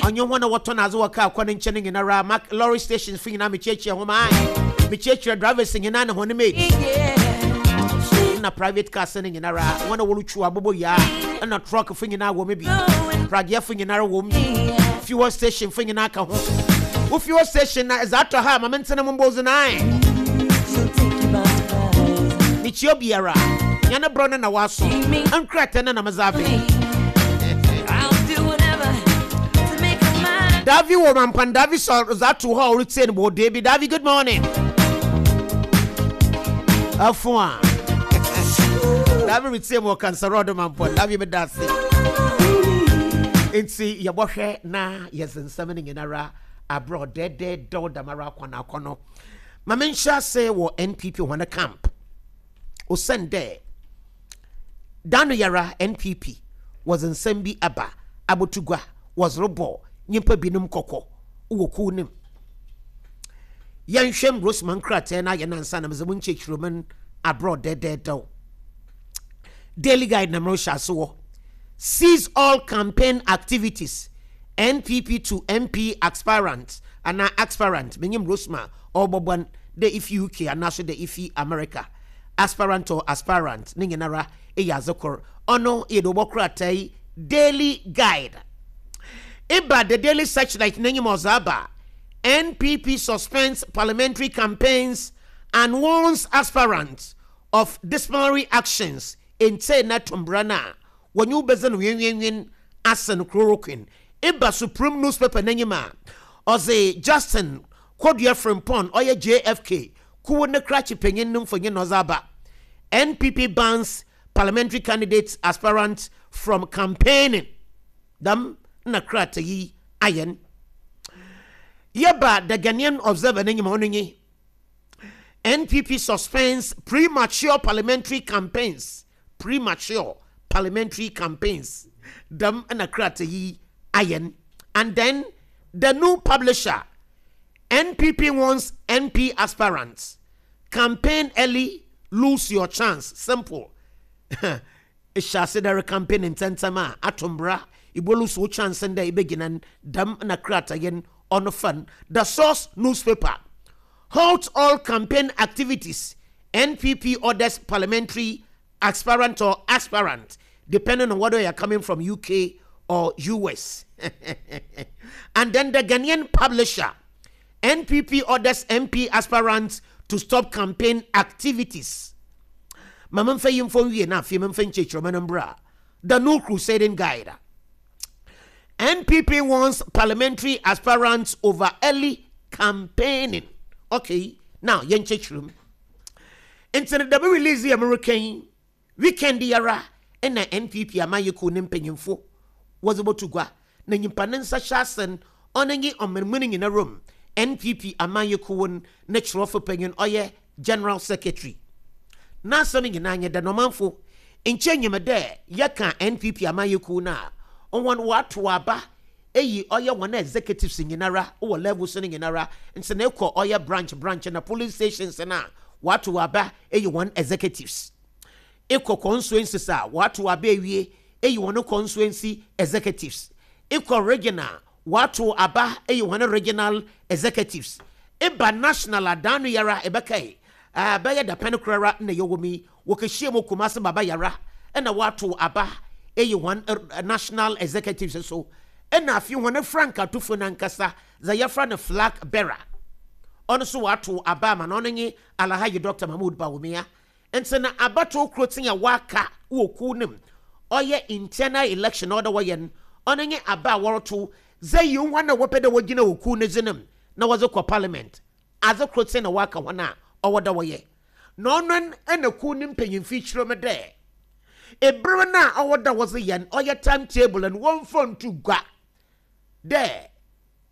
Ɔnye hɔn a wɔtɔn adze wɔ kaar kwan nkyɛn no nyinara, mak lorry stations fo nyina mekyiakyia hom ae. Mekyiakyia drivers nyina na hɔn mates. Nna private cars no nyinara, hɔn a worutwuw aboboyaa na truck fo nyina wɔ mu bi. Pragea fo nyinara wɔ mu bi. Fuel station fo nyina ka ho. Wo fuel station na edze atɔ ha a, ma mentsena mu mbɔ dzin ae. Mekyia obiara. Nya ne brɔ no na wɔaso. Nkrataa no na medze abɛn. Davi wɔ mampan Davi sɔ dze ato hɔ a ɔretsie no bɔ ɔdɔ bi. Davi, good morning. Afo a. Davi retsie mu wɔ kansarɔdo mampɔn. Davi meda ase. Nti yɛbɔhwɛ na yɛdze nsɛm no nyinara abrɛ ɔdɛɛdɛɛdɛw dɛmara akɔnɔ akɔnɔ. Ma menhyɛ ase wɔ NPP hɔn camp. Osiandɛ da no yara NPP wɔdze nsɛm bi aba aboto gua, wɔdze robɔ nyimpa binom kɔkɔ wɔ kuw no mu. Yɛnhwɛ mbrɛ osi ma nkrataa no ayɛ no ansaana medze mo nkyerɛkyerɛmu no abrɛ dɛdɛɛdɛw. Daily Guide na merehyɛ ase wɔ. Cease all campaign activities, NPP to MP aspirants anaa aspirant, minyim Rosema ɔrobɔbɔ no dɛ ifi UK anaaso dɛ ifi America, aspirant or aspirant ne nyinara yɛ adze kor. Ɔno yɛ dɛ wɔbɔ krataa yi Daily Guide. Eba The Daily Searchlight n'enyim a ɔdze aba, NPP suspends parliamentary campaigns and warns aspirants of disciplinary actions Ntsei na to mbra no a, wɔnye wo bedzi no wenwenwen asen chloroquine. Eba Supreme newspaper n'enyim a, ɔdze Justin Kodua Frimpong, ɔyɛ JFK kuw ne krakye panyin no mfonyin na ɔdze aba. NPP bans parliamentary candidates aspirants from campaigning. Dɛm na krataa yi ayɛ no. Yɛba The Ghanaian Observer n'enyim a, ɔno nye. NPP suspends premature parliamentary campaigns premature parliamentary campaigns dɛm na krataa yi ayɛ no. And then the new publisher NPP warns MP aspirants campaign early lose your chance simple Ehyɛ ase dɛ erecampaign ntsɛntsɛm a, ato mbra, ibolusu wo chance ndɛ ibegyina n' dɛm na kratayi n' ɔno fa n' The Source Newspaper Halt all campaign activities, NPP orders parliamentary aspirant or aspirant depending on whether you are coming from UK or US. And then the Ghanaian publisher, NPP orders MP aspirants to stop campaign activities. Ma memfa yi mfɔ nwie na afei memfa nkyerɛkyerɛmu no mbra. The New Crusading Guide. NPP warns parliamentary aspirants over early campaigning. Okay, now yɛnkyerɛkyerɛ mu. Nti no dɛm release yɛ mereka yi, weekend yi ara na NPP amanyɛkuw ne mpanyimfo wɔdze bɔto gua na nyimpa ne nsa hyɛ ase no ɔno nye ɔman mu no nyinara mu NPP amanyɛkuw no ne kyerɛwfo panyin ɔyɛ General Secretary. N'asɛm nyina nye dɛ na ɔmanfo nkyɛ nyim dɛ yɛka NPP amanyɛkuw no a, hɔn wɔatow aba eyi ɔyɛ hɔn executives nyinara wɔ levels no nyinara ntsi na ekɔ ɔyɛ branch branch na polling stations no a wɔatow aba eyi hɔn executives. Ekɔ constituencies a wɔatow aba ewie eyi hɔn constituency executives. Ekɔ region a wɔatow aba eyi hɔn regional executives. Eba national a daano yi ara ebɛkae a bɛyɛ dapɛn kor ara nna yɛwɔ mu yi wɔkehyiaa mu wɔ Kumasi Baba Yara na wɔatow aba eyi hɔn national executives so. Nna afei hɔn frankatufo no ankasa dza yɛfrɛ no flag bearer ɔno so wɔatow aba ama no ɔno nye Alhaji Doctor Mahmood Bawumia. Ntsi na abatow kortsee a wɔaka wɔ kuw no mu, ɔyɛ internal election a ɔwɔ dɛ wɔyɛ no, ɔno nye aba a wɔrotow dze eyi hɔn a wɔpɛ dɛ wogyina wɔ kuw no dzin mu na wɔdze kɔ parliament. Adze kortsee na wɔaka hɔn a ɔwɔ dɛ wɔyɛ. Na ɔno na kuw no mpanyimfo yi kyerɛ mu dɛ, ber no a ɔwɔ dɛ wɔdze yɛ no, ɔyɛ time table no, wɔmfa nto gua dɛ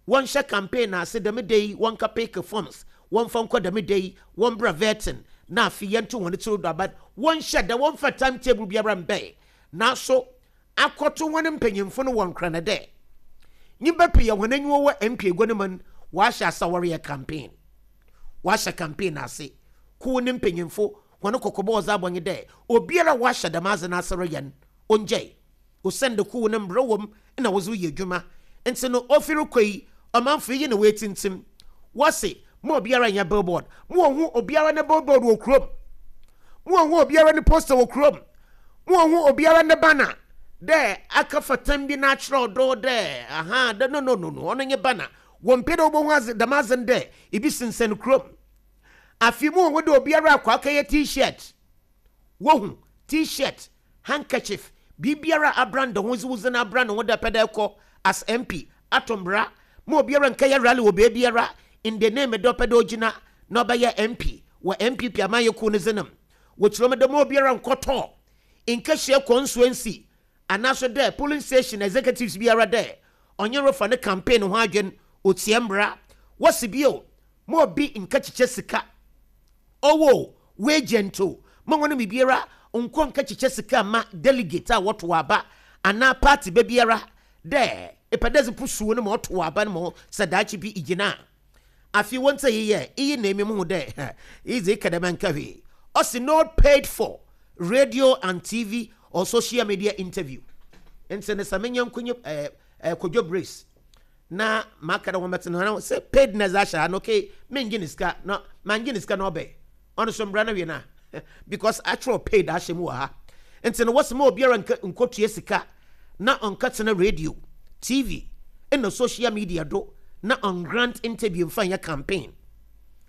wɔnhyɛ campaign ase dɛm da yi, wɔnka pick forms, wɔmfa nkɔ dɛm da yi, wɔmbra vetting, na afei yɛnto hɔn tsir do aba. Wɔnhyɛ da, wɔmfa time table biara mbae. Naaso, akɔto hɔn mpanyimfo no wɔ nkran dɛ, nyimpa pii a hɔn enyiwa wɔ MP egua no mu no, wɔahyɛ ase a wɔreyɛ campaign. Wɔahyɛ campaign ase. Kuw no mpanyimfo hɔn kɔkɔbɔ a wɔdze abɔ nye dɛ, obiara a ɔahyɛ dɛm adze no ase reyɛ no, ongyae. Osiandɛ kuw no mbra wɔ mu na wɔdze reyɛ edwuma. Ntsi no ofi rokɔ yi, ɔmanfo iyi na woetsintsim. Wɔse, Ma obiara nyɛ billboard. Ma wonhu obiara ne billboard wɔ kurom. Ma wonhu obiara ne poster wɔ kurom. Ma wonhu obiara ne banner dɛ aka fatam bi na akyerɛw do dɛ aha dɛ no no no no ɔno nye banner. Wɔmmpɛ dɛ wobohu adze dɛm adze no dɛ ibi sensɛn kurom. Afei ma wonhu dɛ obiara akɔ akɛyɛ T-shirt. Wohu, T-shirt, handkerchief, biribiara a abrand ho dze wo dzin abrand ho dɛ epɛ dɛ ekɔ as MP, ato mbra ma obiara nnkɛyɛ rally wɔ beebiara in the name dɛ ɔpɛ dɛ ogyina na ɔbɛyɛ MP wɔ NPP amanyɛkuw no dzin mu. Wɔkyerɛ mu dɛ ma obiara nnkɔtɔ nnkɛhyia consuency anaaso dɛ polling station executives biara dɛ ɔnye refa ne campaign ho adwen, otsia mbra. Wɔse bio ma obi nnkɛkyekyɛ sika. Ɔwo o, w'agent o, ma hɔn mu biara nnkɔ nnkɛkyekyɛ sika mma delegate a wɔtow aba anaa party ba biara dɛ epɛ dɛ edze pusuw no ma ɔtow aba no ma wo sɛ daakye bi igyina a. Afei wonntse iyi yɛ, iyi na emi muhu dɛ iyi dze eka dɛm a nnkã hwee. Ɔse no paid for radio and TV or social media interview. Ntsi no sɛ me nyɛnko nye eh, eh, Kojo Brace na maka dɛ wɔmbɛtse no ho sɛ paid na dze ahyɛ ha no okay menngye ne sika na manngye ne sika na ɔbɛ ɔno so mbra no wie na because akyerɛw paid ahyɛ mu wɔ ha ntsi no wɔse ma obiara nka nkotua sika na ɔnkɛtsena radio, TV na social media do na ɔngrant interview mfa nyɛ campaign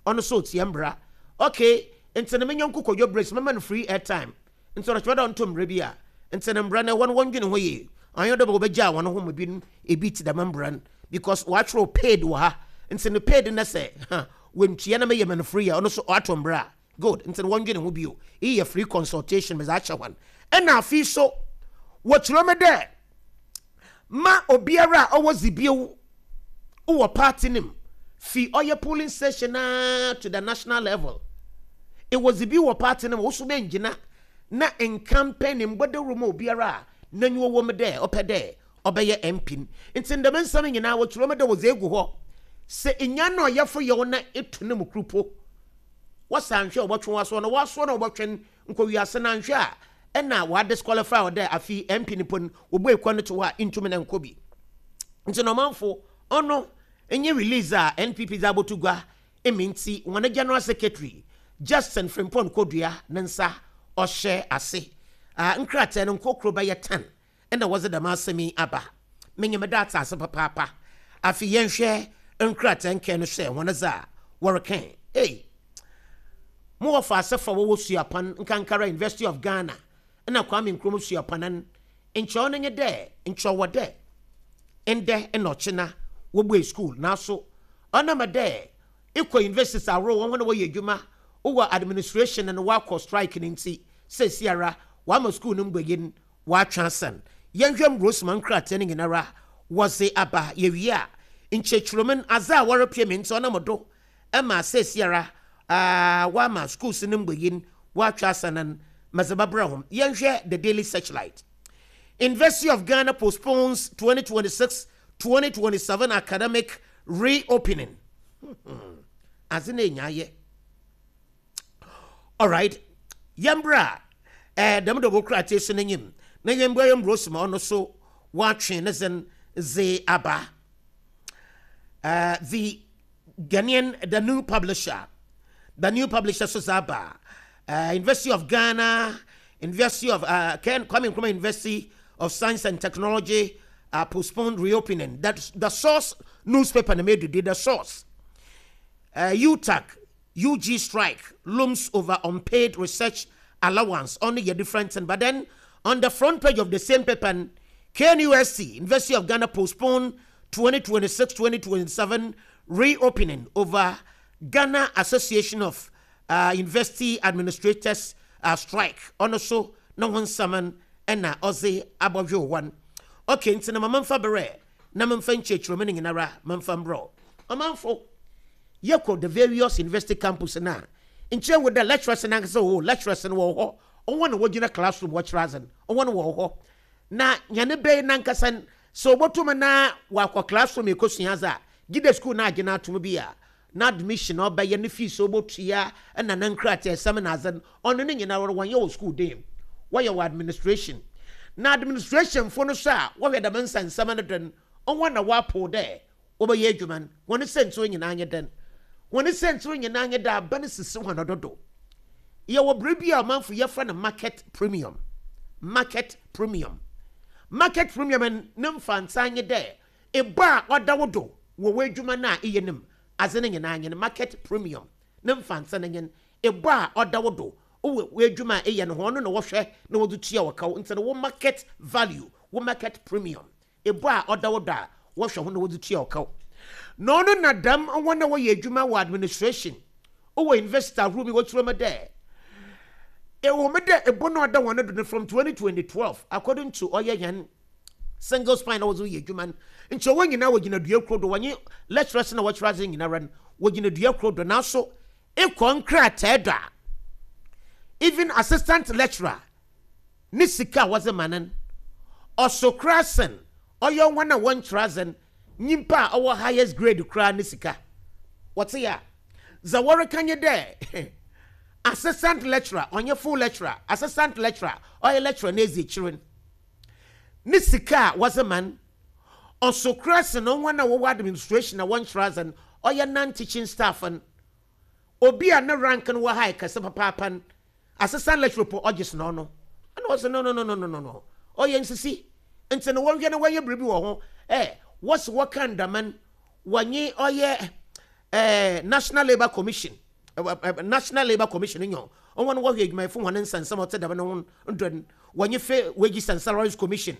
ɔno so otsia mbra okay ntsi no me nyɛnko Kojo Brace mɛma no free airtime Ntsi ɔkyerɛ dɛ ɔnntɔ mbra bi a, ntsi no mbra no hɔn wɔndwen ho yie. Ɔnnyɛ dɛ wɔbɛgyaa hɔn ho ma binom ebi tse dɛm mbra no because wɔakyerɛw paid wɔ ha ntsi no paid no sɛ ha oenntua na meyɛ ma no free a ɔno so ɔatɔ mbra a good ntsi no wɔndwen ho bio. Iyi yɛ free consultation medze akyɛ hɔn. Nna afei so wɔkyerɛ me dɛ ma obiara a ɔwɔ dzibew wɔ party no mu, fi ɔyɛ polling station ara to the national level. Ewɔ dzibew wɔ party no mu, wo so benngyina na ncampaign mbɔ dawur ma obiara a n'enyiwa wɔ mu dɛ ɔpɛ dɛ ɔbɛyɛ MP no. Ntsi ndɛm nsɛm nyina wɔkyerɛ mu dɛ wɔdze egu hɔ. Sɛ inya na ɔyɛfo yɛ wo na eto no mu kor po, wɔse annhwɛ a wɔbɔtwe w'asowa na w'asowa na wɔbɔtwe no nkɔ wiase no annhwɛ a nna wɔadisqualify wo dɛ afei MP no mpo no wobuei kwan no to hɔ a inntum na nnkɔ bi. Ntsi na ɔmanfo ɔno nye release a NPP dze aboto gua emi ntsi hɔn General Secretary Justin Frimpong Kodua ne nsa ɔhyɛ ase. Ah nkrataa no nkorkor bɛyɛ tan na wɔdze dɛm asɛm yi aba. Menye me da atse ase papaapa. Afei yɛnhwɛ nkrataa nkaa no hwɛ hɔn dze a wɔrekã. Ei! Mo wɔfa asɛfo a wɔwɔ Suapɔn, nkankara University of Ghana na Kwame Nkrumah Suapɔn no, nkyɛ ɔno nye dɛ nkyɛ ɔwɔ dɛ ndɛ na ɔkyena wobue skuul naaso ɔnam dɛ ekɔ universities ahorow hɔn na wɔyɛ edwuma wɔ administration no wɔakɔ strike no ntsi seseiara wɔama skuul no mbuei Wɔatwe asan. Yɛnhwɛ mbrosima nkrataa no nyinara wɔdze aba. Yewie a, nkyerɛkyerɛmu no, adze a wɔrepɛ me ntsi ɔnam do ma seseiara wɔama skuulse no mbuei wɔatwe asan no, medze bɛbrɛ hom. Yɛnhwɛ The Daily Searchlight. University of Ghana postpones 2026-2027 academic reopening. Adze no enya ayɛ. Alright, yɛmbra eh, dɛm dɔbɔ krataa si n'enyim na yɛmbua yɛn bros ma ɔno so wɔatwe ne dzen dze aba. Uh, the Ghanaian, the new publisher, the new publisher so dze aba. Uh, University of Ghana, University of uh, Kwame Nkrumah University of Science and Technology uh, postponed reopening. That's the source newspaper, the source. Uh, UTAC, UG strike looms over unpaid research allowance ɔno yɛ different thing but then on the front page of the same paper no KNUST University of Ghana postpone 2026-2027 reopening over Ghana Association of uh, University Administrators uh, strike ɔno so ne ho nsɛm ɛna ɔdze abɔdwe wɔn okay nti na mama mfa berɛ na memfa nkyerɛkyerɛmu no nyinara memfa mbrɛ ɔmanfo Yɛkɔ the various university campus no a, nkyɛ ehu dɛ lecturers no ankasa oh, lecturers no wɔwɔ hɔ, hɔn na wogyina classroom wɔkyerɛ adze no, hɔn wɔwɔ hɔ. Na hɛn bɛ yi nankasa no, sɛ obotum na ɔakɔ classroom ekosua adze a, gyedɛ skuul no agye no ato mu bi a, n'admission a ɔbɛyɛ, ne fees a obotua, na ne nkrataasɛm na adze no, ɔno ne nyinara wɔnnyɛ wɔ skuul dan mu, wɔyɛ wɔ administration. Na administrationfo no so a wɔhwɛ dɛm nsɛnsɛm no do no, Hɔn na wɔapow dɛ wɔbɛyɛ edwuma no. Hɔn siantsir nyina nye dɛn? Hɔn siantsir nyina nye dɛ aban sisi hɔn dodo. Yɛwɔ biribi a ɔmanfo yɛfrɛ no market premium. Market premium. Market premium no ne mfantsaa nye dɛ ebɔ a ɔda wo do wɔ w'edwuma no a eyɛ no mu, adze no nyina nye no. Market premium ne mfantse no nye no. Ebɔ a ɔda wo do wɔ w'edwuma a eyɛ no ho, ɔno na wɔhwɛ na wɔdze tua wo kaw. Ntsi no wo market value, wo market premium, ebɔ a ɔda wo do a wɔhwɛ ho na wɔdze tua wo kaw. Na ɔno na dɛm hɔn a wɔyɛ edwuma wɔ administration wɔ university ahorow mu wɔkyerɛ mu dɛ, ewɔ mu dɛ ebo no a ɔda hɔn do no from 2012 according to ɔyɛ hɛn single spine na wɔdze reyɛ edwuma no, nkyɛ hɔn nyina wogyina dua kor do, wɔnye lecturers na wɔkyerɛ adze nyinara no wogyina dua kor do, naaso ekɔ nkrataa do a, even assistant lecturer ne sika a wɔdze ma no no, ɔso koraa sen ɔyɛ hɔn a wɔnnkyerɛ adze no nyimpa a ɔwɔ highest grade koraa ne sika. Wɔtse a, dza wɔreka nye dɛ assistant lecturer, ɔnnyɛ full lecturer, assistant lecturer, ɔyɛ lecturer n'edzi ekyir no, ne sika a wɔdze ma no, ɔso koraa sen hɔn a wɔwɔ administration a wɔnnkyerɛ adze no, ɔyɛ non-teaching staff no. Obi a ne rank no wɔ high kɛse papaapa no, assistant lecturer po ɔgye sen ɔno. Ɛna ɔse no no no no no no no, ɔyɛ nsisi. Ntsi no wɔnhwɛ na wɔnyɛ biribi wɔ ho. Eh, wɔse wɔka ndaman, wɔnye ɔyɛ eh, National Labour Commission, National Labour Commission nyo, hɔn wɔhwɛ edwumayɛfo hɔn nsɛnsɛm a ɔtse dɛm no ho do no, wɔnye Fair Wages and Salaries Commission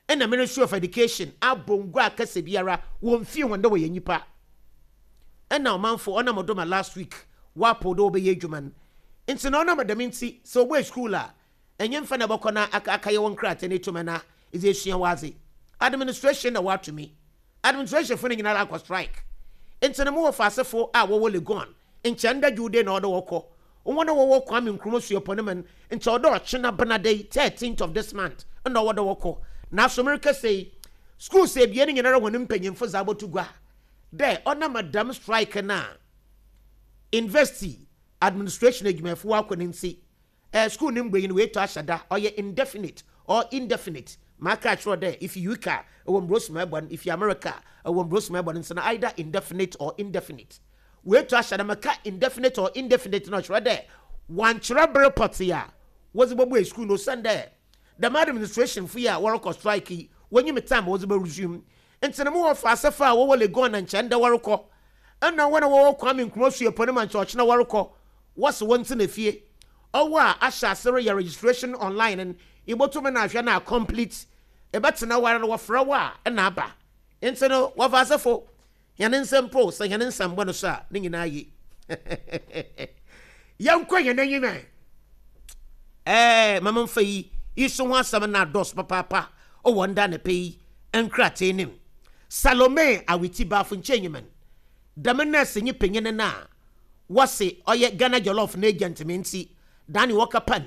nna Ministry of Education abɔ ngua akɛse biara wonnfii hɔn dɛ wɔyɛ nyimpa. Nna ɔmanfo ɔnam do ma last week wɔapow dɛ wɔbɛyɛ edwuma no. Ntsi na ɔnam dɛm ntsi sɛ wobue skuul a, enye mfa na ebɔkɔ na aka akɛyɛ wo nkrataa na etum na edze esua w'adze. Administration na wɔato mi. Administrationfo no nyinara akɔ strike. Ntsi no mowɔ faasefo a wɔwɔ Legon, nkyɛ ndɛ Dwowde na ɔwɔ dɛ wɔkɔ. Hɔn a wɔwɔ Kwame Nkrumah Suapɔn no mu no, nkyɛ ɔwɔ dɛ ɔkyena Benada yi, 13th of this month, nna ɔwɔ dɛ wɔkɔ. Naaso merekasa yi, skuuls ebien nyinara hɔn mpanyimfo dze aboto gua dɛ ɔnam dɛm strike no a University administration edwumayɛfo wɔakɔ no ntsi, Eh, school no mbuei no oetu ahyɛ da, ɔyɛ indefinite or indefinite. Maaka akyerɛ wo dɛ ifi UK a, ewɔ mbrɛ osi ma ebɔ no, ifi America a, ewɔ mbrɛ osi ma ebɔ no, ntsi no either indefinite or indefinite. Oetu ahyɛ da, meka indefinite or indefinite no ɔkyerɛ dɛ wɔannkyerɛ ber pɔtsee a wɔdze bobue school no osiandɛ dɛm administrationfo yi a wɔrokɔ strike yi wonyim time a wɔdze bɔ resume. Ntsi no mowɔ faasefo a wɔwɔ Legon na nkyɛ ndɛ wɔrokɔ, nna hɔn a wɔwɔ Kwame Nkrumah Suapɔn no ma nkyɛ ɔkyena wɔrokɔ, wɔse wɔntsena fie. Ɔwo a ahyɛ ase reyɛ registration online no, ibotum na ahwɛ na acomplete. Ebɛtsena hɔ ara no wɔfrɛ wo a nna aba. Ntsi no wɔfa asefo hɛn nsa mpo sɛ hɛn nsa mmbɔ no so a, ne nyina ye. Yɛnkɔ hɛn enyim ɛ. Ɛɛ, ma memfa yi yi so ho asɛm no adɔɔso papaapa wɔ ndɛ anapa yi nkratsee no mu. Salome Awiti Bafo Nkyɛnyiman, dɛm nɛɛsenyi panyin no a wɔse ɔyɛ Ghana Jollof n'agent me ntsi, Danny wɔka pan.